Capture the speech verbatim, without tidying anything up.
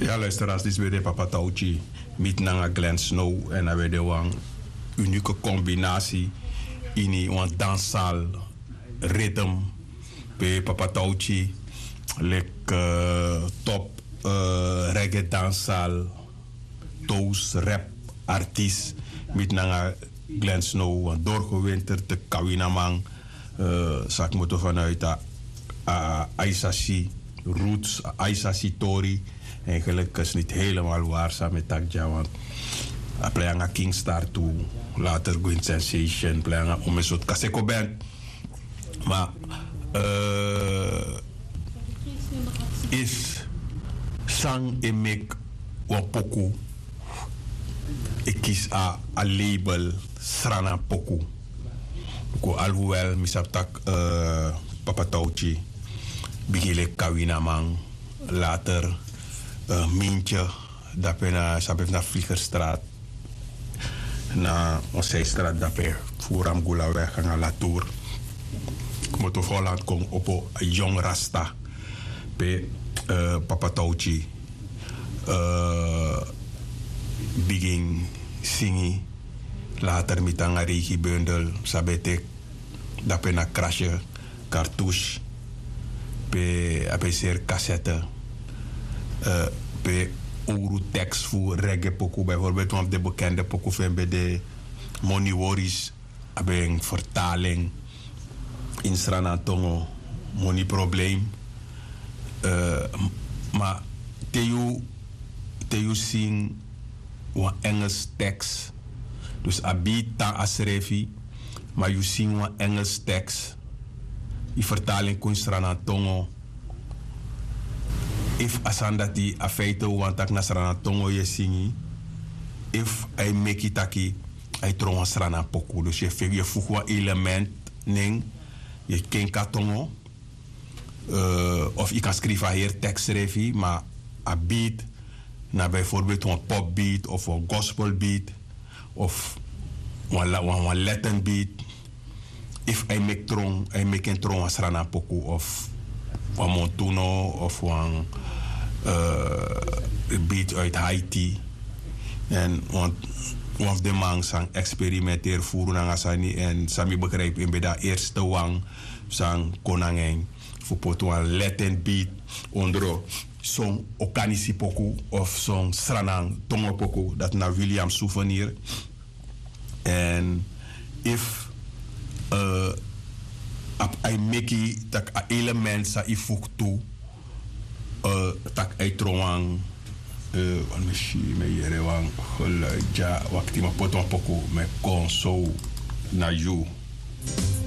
Ya luisteraars, disi ben de Papa Tauchi miti nanga Glenn Snow, èn a ben de wan unike kombinasi ini wan dansal ritme. Pe Papa Tauchi leki, eh, top, eh, reggae dansal, toast, rap artiest miti nanga Glenn Snow, wan doorgewinterde Kawinaman, eh, san kmoto vanuit a, a, a Aisasi roots, a Aisasi tori. Eigenlijk is niet helemaal waar san mi e taki dya, want a plei nanga King Star tu, later go ini Sensation, plei nanga Omeso Kaseko Band. Ma, eh, is san e meki wan poku e kisi a, a label Sranan poku. Go, alhoewel mi sabi taki, eh, Papa Tauchi bigin leki Kawinaman, later, eh, Mintje, dape na, sabi na Vliegerstraat, na Oseistrat dape, fu Ramgulaweg nanga Latour. Kmoto fu Holland kon opo a yong rasta. Pe, eh, Papa Tauchi, eh, bigin singi, later miti nanga Reiki Bundel, san ben teki dape na Krasje, Cartouche, pe a ben seri kasete, eh, pe owru tekst fu reggae poku, bijvoorbeeld wan fu den bekende poku fu en ben de Money Worries, a ben vertaal en ini Sranan tongo, Money Problem. Eh, m-, ma te yu, te yu singi wan Engels tekst, dus a beat tan a srefi, ma yu singi wan Engels tekst, yu vertaal en kon ini Sranan tongo. Efu a sani dati a feite wan taki na Sranan tongo yu e singi, efu a e meki taki a e tron wan Sranan poku. Dus yu e fe-, yu e fuku wan element nen, yu e kenki a tongo, eh, of yu kan skrifi a heri tekst srefi, ma a beat na bijvoorbeeld wan pop beat of wan gospel beat of wan la-, wan, wan Latin beat. Efu a e meki tron, a e meki en tron wan Sranan poku of wan Montuno of wan, eh, beat uit Haiti. En wan, wan fu den man san experimenteri furu nanga sani, en san mi begrijp en ben de a eerste wan san kon nanga en fu poti wan Latin beat ondro son Okanisi poku of son Sranan tongo poku, dati na William Souvenir. En efu, eh, a, a e meki taki a element san yu fuku tu, eh, taki a e tron wan, eh, wan, mi si, mi e yere wan geluid dya, wakti, mi e poti wan poku, mi e kon so na yu.